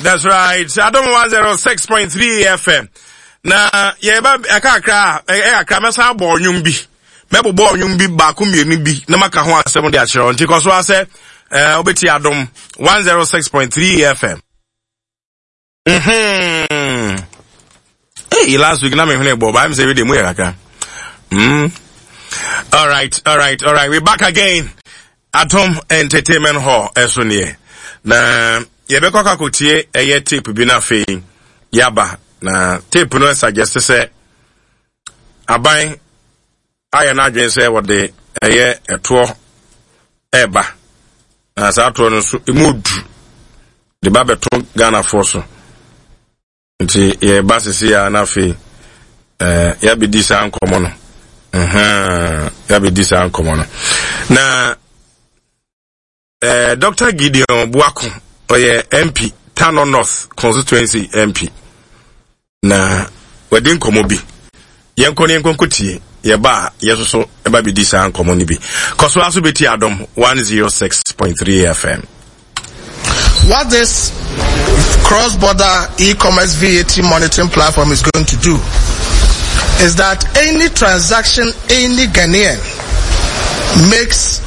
That's right. Adom 106.3 FM. Na yɛba ɛkakra a ɛyɛ kakra mɛsan abɔ ɔnwom bi. Mɛbobɔ ɔnwom bi baako mmienu bi na maka ho asɛm de akyerɛ wo. Nti kɔ so ara sɛ ɛɛ wobɛtie Adom 106.3 FM. Mm-hmm. Hey, last week na me hwene bɔ, but I'm saying we mu yɛ kakra. Mm. All right, all right, all right. We're back again. Atom Entertainment Hall ɛso neɛ. Na yɛbɛkɔ akɔtie ɛyɛ tape bi na afei yaba. Na tape no suggest sɛ aban ayɛ n'adwene sɛ wɔde ɛyɛ ɛtoɔ ɛreba na saa toɔ no nso emu odu de ba bɛto ghanafoɔ so nti yɛba sisi a na afei ɛɛ yɛabɛdi saa nkɔmɔ no ɛhɛn yɛabɛdi saa nkɔmɔ no na. Eh, Dr. Gideon Buako, ɔyɛ MP, Tano North Constituency MP. Na wadi nkɔmmɔ bi. Yɛnkɔ ne yɛnkɔ nkɔtie. Yɛba a, yɛn nso ɛba bɛdi saa nkɔmmɔ no bi. Kɔ so aso bɛtie Adom 106.3 FM. What this cross-border e-commerce VAT monitoring platform is going to do is that any transaction any Ghanaian makes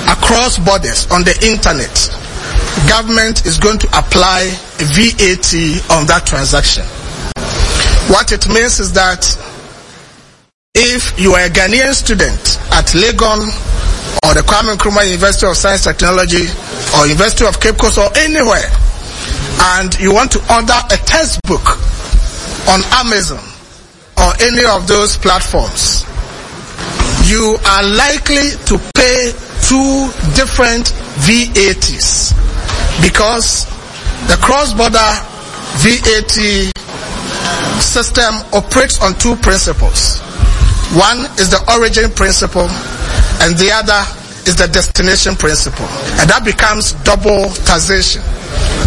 across borders on the internet, government is going to apply VAT on that transaction. What it means is that if you are a Ghanaian student at Legon or the Kwame Nkrumah University of Science Technology or University of Cape Coast or anywhere, and you want to order a textbook on Amazon or any of those platforms, you are likely to pay two different VATs because the cross-border VAT system operates on two principles. One is the origin principle and the other is the destination principle. And that becomes double taxation.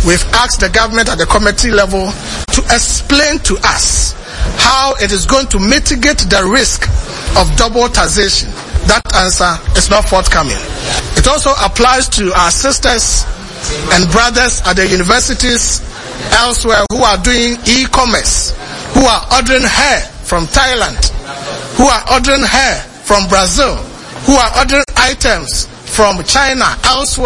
We've asked the government at the committee level to explain to us how it is going to mitigate the risk of double taxation. That answer is not forthcoming. It also applies to our sisters and brothers at the universities elsewhere who are doing e-commerce, who are ordering hair from Thailand, who are ordering hair from Brazil, who are ordering items from China, elsewhere.